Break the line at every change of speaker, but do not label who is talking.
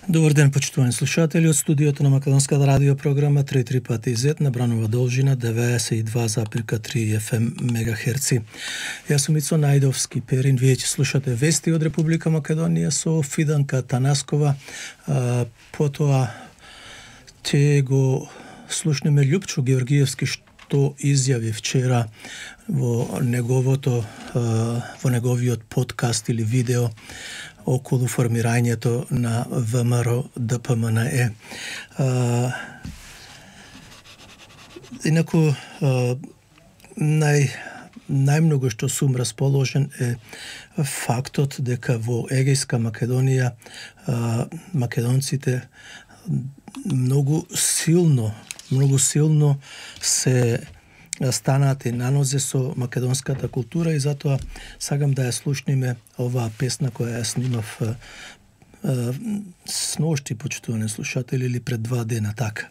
Добар ден, почитувани слушатели, од студиото на Македонската радио програма 3 пати Z на бранова должина 92,3 FM мегахерци. Јас сум Ицо Најдовски Перин, вие ќе слушате вести од Република Македонија со Фиданка Танаскова, потоа ќе го слушнеме Љупчо Георгиевски што изјави вчера во неговиот подкаст или видео околу формирањето на ВМРО ДПМНЕ. Инаку најмногу што сум расположен е фактот дека во Егејска Македонија македонците многу силно се станати на нозе со македонската култура и затоа сакам да ја слушниме оваа песна која ја снимав сношти, почитувани слушатели, или пред 2 дена така.